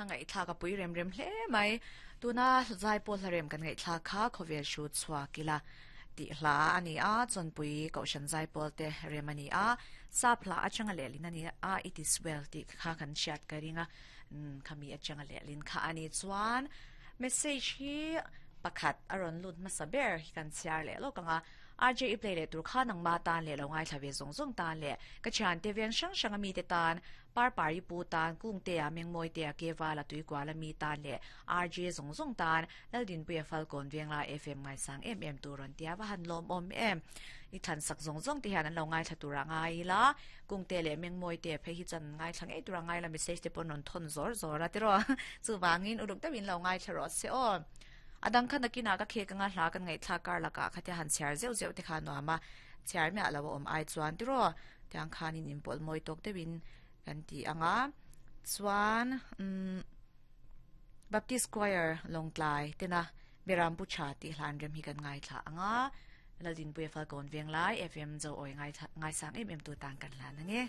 ngaihthlak a pui rem rem hle mai. Tuna zaipawl hla rem kan ngaihthlak kha khawvel hrut chhuak ila tih hla a ni a, Chawnpui Kohhran zaipawl te rem a ni a, sap hla atanga lehlin a ni a, It is well tih kha kan hriat ka ring a, khami atanga lehlin kha a ni. Chuan message hi pakhat a rawn lut hmasa ber hi kan chhiar leh lawk ang a, RJ i play leh tur kha nangma tan leh lo ngaithla ve zawng zawng tan leh ka thiante veng hrang hrang a mite tan Parpari pu tan, Kungtea, Mengmawitea, Kevala, Tuikuala mi tan leh RJ zawng zawng tan Laldinpuia Falkawn Vengla FM ngaisang em em tur rawn tia va han lawmawm em. I thlansak zawng zawng te hian an lo ngaithla tur a ngai ila, Kungtea leh Mengmawitea phei hi chuan an ngaithla ngei tur a ngai ila message te pawh an rawn thawn zawr zawr a tiraw. Chuvangin uluk deuhin lo ngaithla rawh se aw. A dang kha nakinah ka khek anga hla kan ngaihthlak kar lakah khatia han chhiar zeuh zeuh te kha a nuam a, chhiar miah lo a awm ai chuan tiraw tiang khanin inpawlh mawi tawk deuhin kan ti ang a, chuan umm Baptist Choir Lawngtlai tena Beram Pu Tha tih hlan rem hi kan ngaithla ang a, Laldinpuia Falkawn Venglai FM Zo Awi ngaisang em em tu tan kan hlan ang e.